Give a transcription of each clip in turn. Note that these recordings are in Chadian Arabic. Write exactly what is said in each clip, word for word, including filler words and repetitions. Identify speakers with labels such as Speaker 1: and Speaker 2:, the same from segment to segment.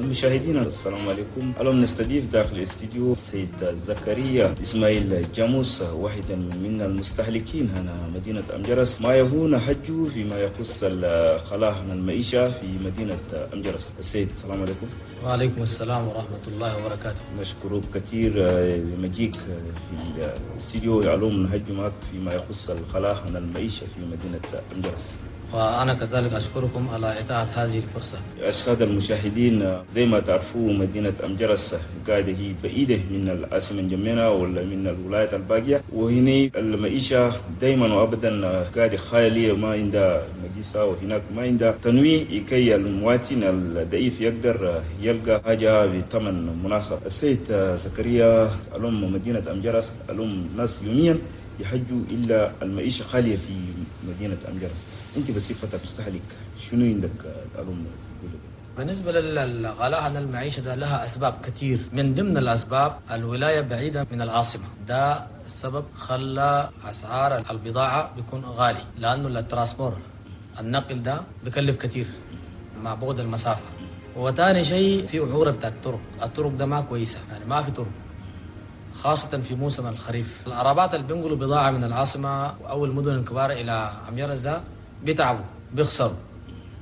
Speaker 1: المشاهدين السلام عليكم. اليوم نستضيف داخل الاستديو السيد زكريا اسماعيل جاموس، واحدا من المستهلكين هنا مدينة أمجرس، ما يهون حجه فيما يخص الغلاء المعيشة في مدينة أمجرس. السيد السلام عليكم.
Speaker 2: وعليكم السلام ورحمة الله وبركاته.
Speaker 1: نشكرك كثير لمجيك في الاستديو، اليوم نحجي معك فيما يخص الغلاء المعيشة في مدينة أمجرس.
Speaker 2: وأنا كذلك أشكركم على إتاحة هذه الفرصة.
Speaker 1: السادة المشاهدين، زي ما تعرفوا مدينة أمجرس قاعدة هي بعيدة من العاصمة انجمينا ولا من الولايات الباقية، وهنا المعيشة دايما وأبدا قاعدة خالية، ما عندها مجلسة وهناك ما عندها تنويع كي المواطن الضعيف يقدر يلقى حاجة بثمن مناسب. السيد زكريا، اليوم مدينة أمجرس اليوم ناس يوميا يحجوا إلا المعيشة خالية في مدينة أمجرس، أنت بصفتك مستهلك شنو عندك اليوم تقول؟
Speaker 2: بالنسبة للغلاء عن المعيشة ده لها أسباب كثير، من ضمن الأسباب الولاية بعيدة من العاصمة، ده السبب خلى أسعار البضاعة بيكون غالي، لأنه ال transport النقل ده بكلف كثير مع بعد المسافة. وثاني شيء في وعورة بتاع الطرق، الطرق ده ما كويسة، يعني ما في طرق خاصة في موسم الخريف. العربات اللي بينقلوا بضاعة من العاصمة أو المدن الكبار إلى أمجرس ده بيتعبوا، بيخسروا،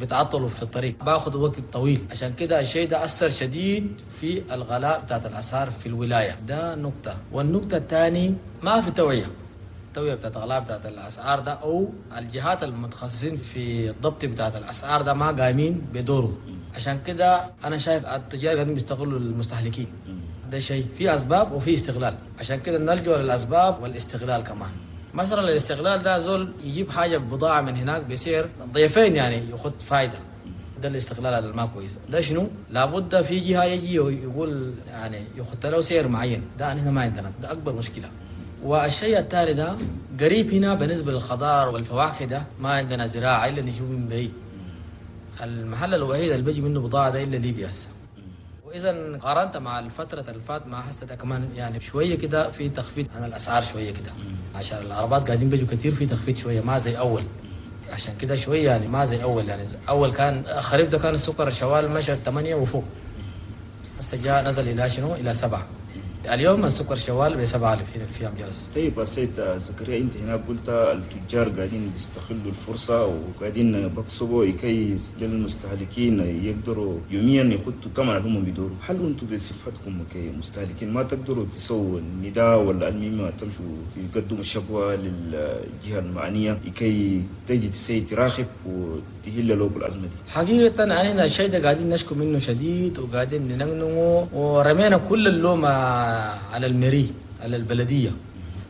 Speaker 2: بيتعطلوا في الطريق، باخذوا وقت طويل. عشان كده الشيء ده أثر شديد في الغلاء بتاعت الأسعار في الولاية، ده نقطة. والنقطة الثانية ما في توعية، التوعية بتاعت الغلاء بتاعت الأسعار ده أو الجهات المتخصصين في الضبط بتاعت الأسعار ده ما قايمين بدوره. عشان كده أنا شايف التجار قاعدين بيستغلوا المستهلكين، ده شيء في أسباب وفي استغلال. عشان كده نلجأ للأسباب والاستغلال كمان. مثلا الاستغلال ده زول يجيب حاجة بضاعة من هناك بسعر ضيفين، يعني ياخد فايدة، ده الاستغلال اللي ما كويس. ده شنو؟ لابد في جهة يجي يقول يعني ياخد له سعر معين، ده هنا ما عندنا، ده أكبر مشكلة. والشيء الثاني ده قريب هنا بالنسبة للخضار والفواكه ده ما عندنا زراعة إلا نجيب من بعيد. المحل الوحيد اللي بيجي منه بضاعة ده إلا ليبيا هسه. وإذا قارنت مع الفترة اللي فات مع هسه ده كمان يعني شوية كده في تخفيض عن الأسعار شوية كده، عشان العربات قاعدين بيجوا كتير في تخفيض شوية ما زي أول. عشان كده شوية يعني ما زي أول، يعني أول كان خريف ده كان السكر الشوال مشى ثمانية وفوق، هسه جاء نزل إلى شنو؟ إلى سبعة. اليوم السكر شوال بسبعة آلاف في في أمجرس.
Speaker 1: طيب السيد زكريا، أنت هنا قلت التجار قاعدين بيستغلوا الفرصة وقاعدين بيكسبوا كي للمستهلكين يقدروا يوميا يحطوا ثمن اللي هم بيدوروا. هل أنتم بصفتكم كمستهلكين ما تقدروا تسووا النداء ولا المهم تمشوا تقدموا الشكوى للجهة المعنية كي تجي تسي تراقب وتهل له الأزمة دي؟
Speaker 2: حقيقة أنا الشيء ده قاعدين نشكو منه شديد وقاعدين ننقنقه ورمينا كل اللوم على المري على البلدية.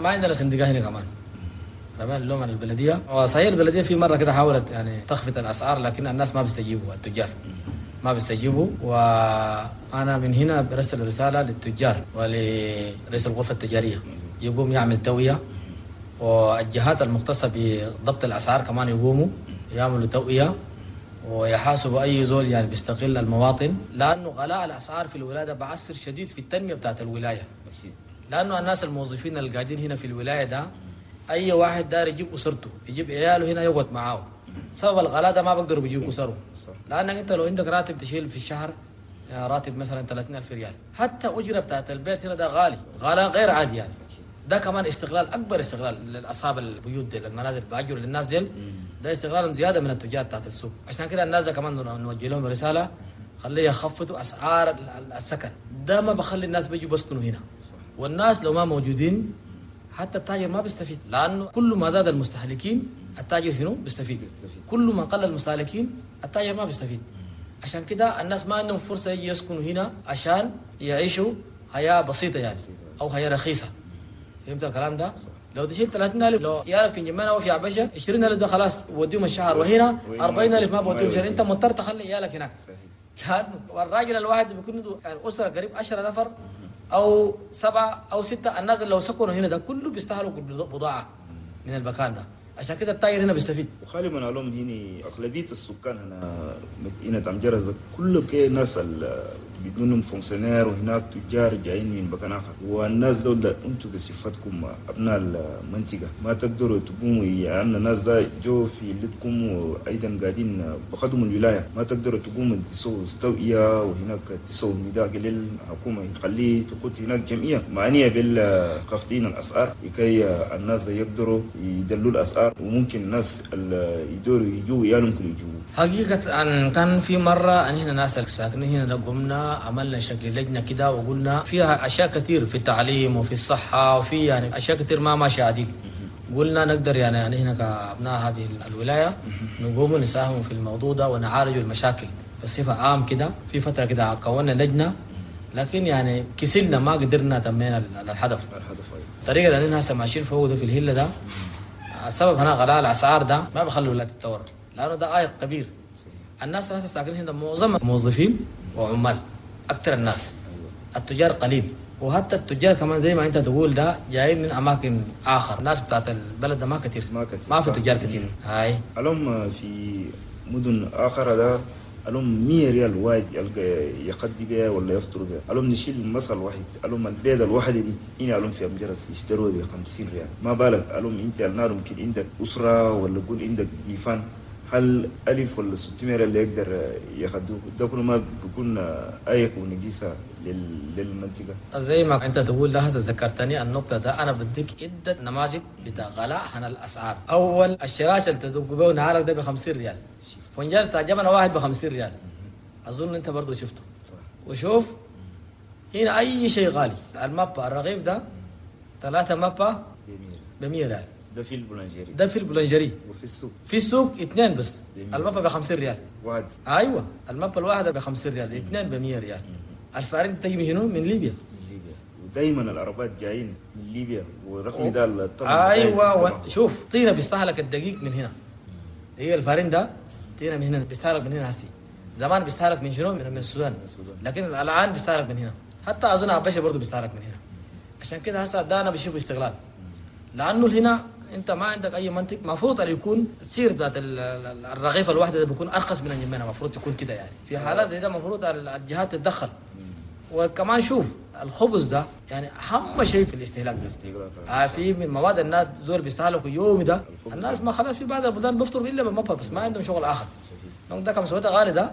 Speaker 2: ما عندنا صندوق هنا كمان، رمينا اللوم على البلدية. وصحيح البلدية في مرة كده حاولت يعني تخفض الأسعار، لكن الناس ما بيستجيبوا، التجار ما بيستجيبوا. وأنا من هنا برسل رسالة للتجار ولرئيس الغرفة التجارية يقوم يعمل توعية، والجهات المختصة بضبط الأسعار كمان يقوموا يعملوا توعية ويحاسبوا أي زول يعني بيستغل المواطن، لأنه غلاء الأسعار في الولاية بعثر شديد في التنمية بتاعت الولاية. لأنه الناس الموظفين اللي قاعدين هنا في الولاية ده أي واحد دار يجيب أسرته، يجيب عياله هنا يقعد معاه. سبب الغلاء ده ما بقدروا بيجيبوا أسره، لأنك أنت لو عندك راتب تشيل في الشهر راتب مثلا ثلاثين ألف ريال، حتى أجرة بتاعت البيت هنا ده غالي، غلاء غير عادي يعني. ده كمان استغلال، أكبر استغلال لأصحاب البيوت دي، المنازل بأجر للناس ديل، ده استغلال زيادة من التجار بتاعت السوق. عشان كده الناس ده كمان نوجه لهم رسالة، خليه يخفضوا أسعار السكن، ده ما بخلي الناس بيجوا بسكنوا هنا. والناس لو ما موجودين حتى التاجر ما بيستفيد، لأنه كل ما زاد المستهلكين التاجر شنو بيستفيد، كل ما قل المستهلكين التاجر ما بيستفيد. عشان كده الناس ما عندهم فرصة يجي يسكنوا هنا عشان يعيشوا حياة بسيطة يعني أو حياة رخيصة. فهمت الكلام ده؟ لو تشيل ثلاثين ألف لو يعرف في جمانة أو في عبشة عشرين ألف ده خلاص وديهم الشهر، وهنا أربعين ألف ما بوديهم شهر، أنت مضطر تخلي عيالك هناك. والراجل الواحد بيكون عنده يعني أسرة قريب عشرة نفر أو سبعة أو ستة، الناس اللي لو سكنوا هنا ده كله بيستهلكوا بضاعة من المكان ده. عشان كده التاجر هنا بيستفيد.
Speaker 1: وخالي من علوم هنا أغلبية السكان هنا مدينة أمجرس كله كي ناس بدونهم fonctionnaires وهناك تجار جايين من مكان اخر، والناس دول انتم بصفتكم ابناء المنطقة ما تقدروا تقوموا، يعني الناس ده جو في لدكم وايضا قاعدين بخدموا الولاية، ما تقدروا تقوموا تسووا توعيه وهناك تسووا نداء للحكومة يخليه تقول هناك جمعية معنية بالخفضين الاسعار لكي الناس ده يقدروا يدلوا الاسعار، وممكن الناس اللي يدوروا يجوا يالهم كل يجوا.
Speaker 2: حقيقة أن كان في مرة أن هنا ناس ساكنين هنا قمنا عملنا شكل لجنة كده وقلنا فيها أشياء كثير في التعليم وفي الصحة وفي يعني أشياء كثير ما ماشية عديل. قلنا نقدر يعني يعني هنا كأبناء هذه الولاية نقوم ونساهم في الموضوع ده ونعالج المشاكل بصفة عام كده. في فترة كده كونا لجنة، لكن يعني كسلنا ما قدرنا تمينا الهدف. الطريقة اللي هسه ماشيين فوق ده في الهلة ده السبب هنا غلاء الأسعار ده ما بخلوا الولايات تتطور، لأنه ده عائق كبير. الناس اللي ساكنين هنا معظم موظفين وعمال، أكثر الناس التجار قليل، وحتى التجار كمان زي ما أنت تقول ده جايين من أماكن آخر. الناس بتاعت البلد ده ما كتير،
Speaker 1: ما كتير،
Speaker 2: ما في تجار كتير. هاي
Speaker 1: ألوم في مدن آخر ده ألوم مية ريال واحد يلقى يقضي بها ولا يفطر بها. ألوم نشيل المثل واحد، ألوم البيضة الواحدة دي هنا ألوم في أمجرس يشتروها ب خمسين ريال، ما بالك ألوم أنت النار ممكن عندك أسرة ولا قول عندك ضيفان، هل ألف ولا ستمية ريال اللي يقدر ياخدوه؟ ده كله ما بيكون أيق ونجيسة للمنطقة.
Speaker 2: زي ما أنت تقول لها ذكرتني النقطة ده، أنا بديك عدة نماذج بتاع غلاء عن الأسعار. أول الشراش اللي تدق به نهارك ده بخمسين ريال، فنجان بتاع جبنة واحد بخمسين ريال، أظن أنت برضو شفته. وشوف هنا أي شيء غالي. المابا الرغيف ده ثلاثة مابا بمية ريال،
Speaker 1: ده في ال boulangerie،
Speaker 2: ده في ال boulangerie.
Speaker 1: وفي السوق،
Speaker 2: في السوق اثنين بس، المابا بخمسين ريال
Speaker 1: واحد.
Speaker 2: ايوه المابا الواحدة بخمسين ريال، اثنين بمية ريال. ال farine تجي من شنو؟ من ليبيا.
Speaker 1: من ليبيا، ودايما العربات جايين من ليبيا، ورغم ده الطلب.
Speaker 2: ايوه و... شوف طينه بيستهلك الدقيق من هنا، هي ال farine ده طينه من هنا بيستهلك من هنا. هسي زمان بيستهلك من شنو؟ من السودان، لكن الان بيستهلك من هنا. حتى اظن عباشه برضه بيستهلك من هنا. عشان كده هسه ده انا بشوف استغلال، لانه هنا انت ما عندك اي منطق. المفروض ان يكون السير بتاعت الرغيفه الواحدة ده بيكون ارخص من الجمانه، المفروض يكون كده يعني. في حالات زي ده المفروض الجهات تتدخل. وكمان شوف الخبز ده يعني اهم شيء في الاستهلاك ده. آه في من مواد الناس زول بيستهلكوا يومي ده، الناس ما خلاص في بعض البلدان بيفطروا الا بالمطبخ بس، ما عندهم شغل اخر. ده كم سويته غالي ده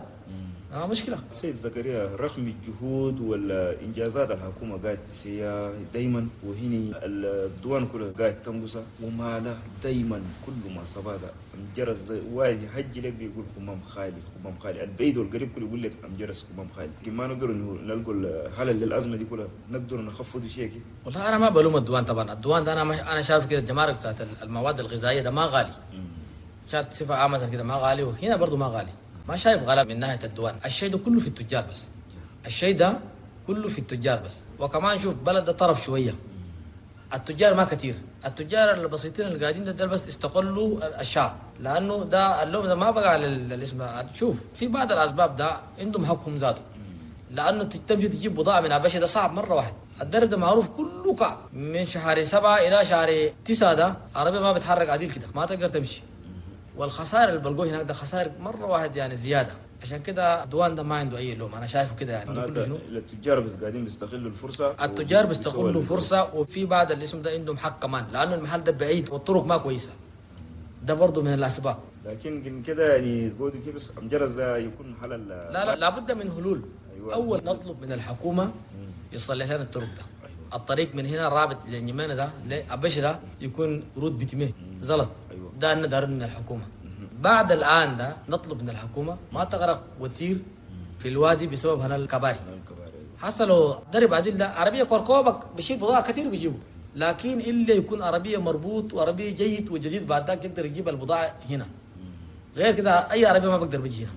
Speaker 2: آه مشكلة.
Speaker 1: سيد زكريا، رغم الجهود والإنجازات الحكومة قاعد تسيا دايما، وهني الدوان كلها قاعد تنقصها، وما له دايما كل ما صبادا أمجرس واحد يحج لك بيقول خمام خالي خمام خالي، البيد والقريب كله يقول لك أمجرس خمام خالي. ما نقدر نلقوا الحل للأزمة دي كلها، نقدر نخفض شيء كده.
Speaker 2: والله أنا ما بلوم الدوان طبعا، الدوان ده أنا ما أنا شايف كده الجمارك بتاعت المواد الغذائية ده ما غالي، شات صفة عامة كده ما غالي، وهنا برضو ما غالي. ما شايف غلاء من ناحية الدوان، الشيء ده كله في التجار بس، الشيء ده كله في التجار بس. وكمان شوف بلد ده طرف شوية، التجار ما كثير، التجار البسيطين اللي قاعدين ده بس استقلوا الشعب، لأنه ده اللوم ده ما بقى على الاسم. شوف في بعض الأسباب ده عندهم حقهم ذاته، لأنه تمشي تجيب بضاعة من أبشة ده صعب مرة واحد. الدرب ده معروف كله كعب من شهر سبعة إلى شهر تسعة، ده عربية ما بتحرك عديل كده، ما تقدر تمشي. والخسائر اللي بلقوه هناك ده خسائر مرة واحد يعني زيادة. عشان كده الدوان ده ما عنده أي لوم، أنا شايفه كده يعني.
Speaker 1: كله شنو؟ التجار بس قاعدين بيستغلوا الفرصة،
Speaker 2: التجار بيستغلوا فرصة، وفي بعض الاسم ده عندهم حق كمان، لأنه المحل ده بعيد والطرق ما كويسة، ده برضه من الأسباب.
Speaker 1: لكن كده يعني تقولوا كيف بس أمجرس ده يكون حل؟
Speaker 2: لا لا لابد من حلول. أيوة. أول نطلب من الحكومة يصلح لنا الطرق ده. أيوة. الطريق من هنا رابط للنيمانة ده لأبش ده يكون رود بتمه زلط. أيوة. ده أنا دار من الحكومة. بعد الآن ده نطلب من الحكومة ما تغرق وتير في الوادي بسبب هنا الكباري. حصلوا درب عديل ده عربية كركوبك بشيل بضاعة كثير بيجيبوا، لكن إلا يكون عربية مربوط وعربية جيد وجديد بعد ذاك يقدر يجيب البضاعة هنا، غير كده أي عربية ما بقدر بيجي هنا.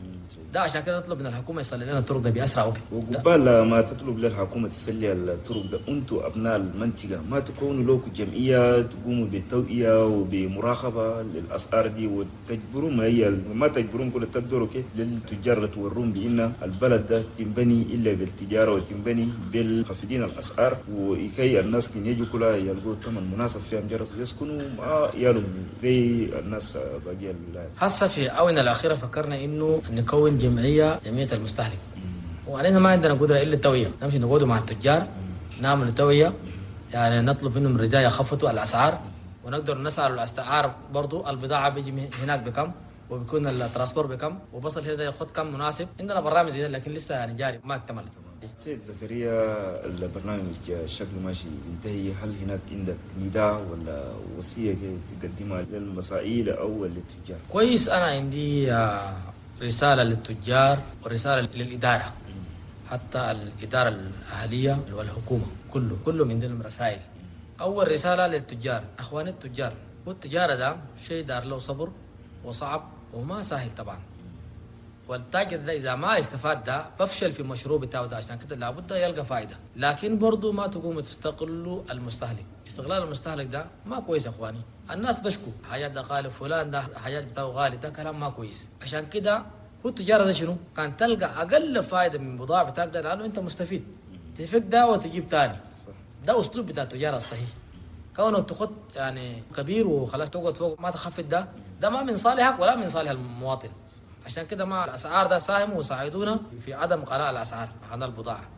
Speaker 2: ده عشان كده نطلب من الحكومة يصلي لنا الطرق ده باسرع وقت.
Speaker 1: وقبال ما تطلب للحكومة تسلي الطرق ده، انتم ابناء المنطقة ما تكونوا لكم جمعية تقوموا بالتوعية وبمراقبه للاسعار دي، وتجبرون ما هي ما تجبرون كل تقدروا كيف للتجار تورون بان البلد ده تنبني الا بالتجارة وتنبني بالخفيضين الاسعار، وكي الناس كي يجوا كلها يلقوا ثمن مناسب فيها مجرد يسكنوا مع يالهم زي الناس باقية الولايات.
Speaker 2: هسه في الاونة الاخيرة فكرنا انه نكون جمعية جمعية المستهلك، وعلينا ما عندنا قدره الا التوعية، نمشي نقعد مع التجار نعمل توعيه، يعني نطلب منهم الرجال يخفضوا الاسعار، ونقدر نسأل الاسعار برضو، البضاعة بيجي من هناك بكم، وبيكون ال transport بكم، وبصل هنا ياخذ كم مناسب. عندنا برنامج زي ده لكن لسه يعني جاري ما اكتملت.
Speaker 1: سيد زكريا، البرنامج شكله ماشي ينتهي، هل هناك عندك نداء ولا وصية تقدمها للمسائل أو للتجار؟
Speaker 2: كويس، أنا عندي رسالة للتجار ورسالة للإدارة، حتى الإدارة الأهلية والحكومة، كله كله عندنا رسائل. أول رسالة للتجار، أخوان التجار، والتجارة ده شيء دار له صبر وصعب وما سهل طبعا، والتاجر ده إذا ما استفاد ده بفشل في المشروع بتاعه ده، عشان كده لابد يلقى فائدة. لكن برضو ما تقوموا تستغلوا المستهلك، استغلال المستهلك ده ما كويس يا أخواني. الناس بشكوا حاجات ده غالي، فلان ده حاجات بتاعه غالي، ده كلام ما كويس. عشان كده هو التجارة ده شنو؟ كان تلقى أقل فائدة من بضاعة بتاعك ده لأنه أنت مستفيد، تفك ده وتجيب تاني. ده أسلوب بتاع التجارة الصحيح. كونك تخط يعني كبير وخلاص تقعد فوق ما تخفض ده، ده ما من صالحك ولا من صالح المواطن. عشان كده مع الأسعار ده ساهموا وساعدونا في عدم غلاء الأسعار عن البضاعة.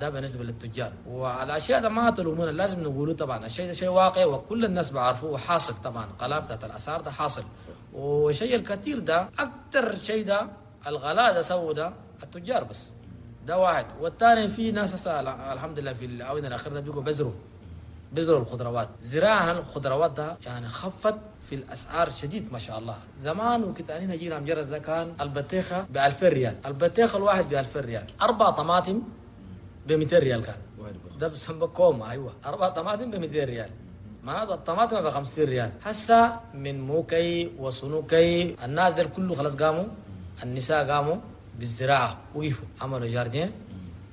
Speaker 2: ده بالنسبة للتجار. وعلى الأشياء ده ما تلومونا، لازم نقوله طبعا الشيء ده شيء واقع وكل الناس بعرفوه وحاصل طبعا، غلاء بتاعت الأسعار ده حاصل. وشيء الكثير ده أكثر شيء ده الغلاء ده سووا ده التجار بس، ده واحد. والثاني في ناس هسه الحمد لله في الآونة الأخيرة ده بيقوا بزروا بزروا الخضروات، زراعة الخضروات ده يعني خفت في الأسعار شديد ما شاء الله. زمان وكنت أنا جينا مجرز ده كان البطيخة ب ألفين ريال، البطيخة الواحد ب ألفين ريال، أربع طماطم ب مئتين ريال كان ده بسمى كوم. أيوة، أربع طماطم ب مئتين ريال، معناته الطماطم ب خمسين ريال. هسه من موكي وصنوكي النازل كله خلاص قاموا، النساء قاموا بالزراعة، وقفوا عملوا جاردين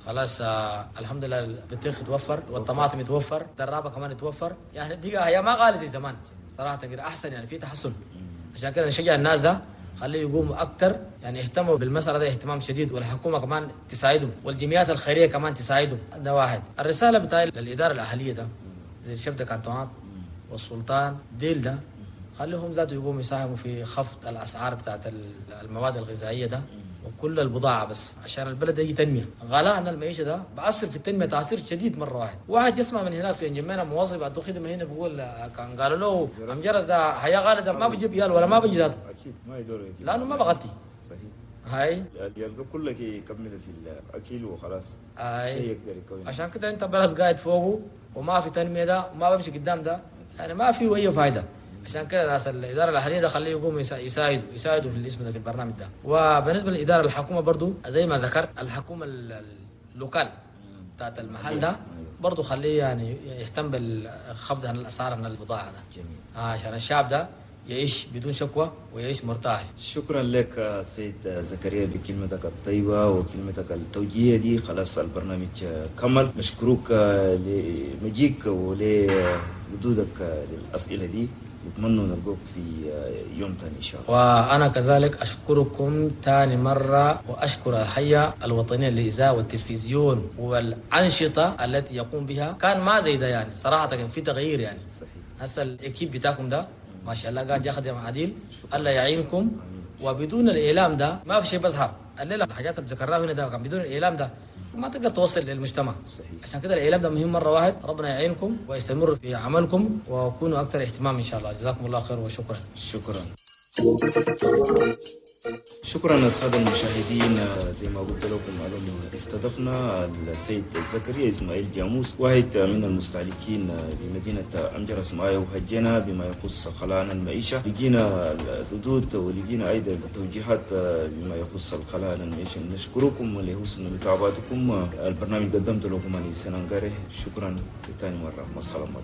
Speaker 2: خلاص. آه الحمد لله البطيخ يتوفر والطماطم يتوفر، الدرابة كمان يتوفر، يعني بقى هي ما غالي زي زمان صراحة كده، أحسن يعني في تحسن. عشان كده نشجع الناس ده خليه يقوموا أكتر، يعني يهتموا بالمسألة ده اهتمام شديد، والحكومة كمان تساعدهم والجمعيات الخيرية كمان تساعدهم. ده واحد. الرسالة بتاعي للإدارة الأهلية ده زي الشبكة كانتونات والسلطان ديل ده، خليهم ذاته يقوموا يساهموا في خفض الأسعار بتاعت المواد الغذائية ده وكل البضاعة، بس عشان البلد يجي تنمية. غلاء المعيشة ده بأثر في التنمية تأثير شديد مرة واحد. واحد يسمع من هناك في انجمينا موظف بعد خدمة هنا بيقول كان قالوا له عم جرس ده حياة غالية ده ما بيجيب يال ولا ما بيجي ذاته،
Speaker 1: أكيد ما يدور
Speaker 2: لأنه ما بغطي.
Speaker 1: صحيح.
Speaker 2: هاي
Speaker 1: يلقى كله يكمل في الأكل وخلاص.
Speaker 2: هاي
Speaker 1: شيء يقدر يكون.
Speaker 2: عشان كده أنت بلد قاعد فوقه وما في تنمية ده وما بمشي قدام ده، يعني ما في أي فايدة. عشان كده ناس الإدارة الأهلية ده خليه يقوموا يساعدوا يساعدوا في الاسم ده في البرنامج ده. وبالنسبة للإدارة الحكومة برضو زي ما ذكرت، الحكومة ال locale بتاعت المحل ده برضو خليه يعني يهتم بالخفض عن الأسعار عن البضاعة ده.
Speaker 1: جميل.
Speaker 2: آه عشان الشعب ده يعيش بدون شكوى ويعيش مرتاح.
Speaker 1: شكرا لك سيد زكريا بكلمتك الطيبة وكلمتك التوجيهية دي. خلاص البرنامج كمل، نشكرك لمجيك ولردودك للأسئلة دي، نتمنى نلقوك في يوم ثاني إن شاء الله.
Speaker 2: وأنا كذلك أشكركم ثاني مرة، وأشكر الهيئة الوطنية للإذاعة والتلفزيون والأنشطة التي يقوم بها. كان ما زي ده يعني صراحة كان في تغيير يعني.
Speaker 1: صحيح.
Speaker 2: هسه الإكيب بتاعكم ده ما شاء الله قاعد يخدم عديل، الله يعينكم. وبدون الإعلام ده ما في شيء بظهر. الليلة الحاجات اللي ذكرناها هنا ده كان بدون الإعلام ده ما تقدر توصل للمجتمع.
Speaker 1: صحيح.
Speaker 2: عشان كده الإعلام ده مهم مرة واحد. ربنا يعينكم ويستمر في عملكم وكونوا أكثر اهتمام إن شاء الله. جزاكم الله خير وشكرا.
Speaker 1: شكرا. شكرا للسادة المشاهدين. زي ما قلت لكم معلومة استضفنا السيد زكريا إسماعيل جاموس، واحد من المستهلكين بمدينة أمجرس معايا، وهجينا بما يخص غلاء المعيشة. لقينا الردود ولقينا أيضا التوجيهات بما يخص الغلاء المعيشة. نشكركم لحسن متابعتكم. البرنامج قدمت لكم أنا سنانغاري. شكرا لثاني مرة، مع السلامة.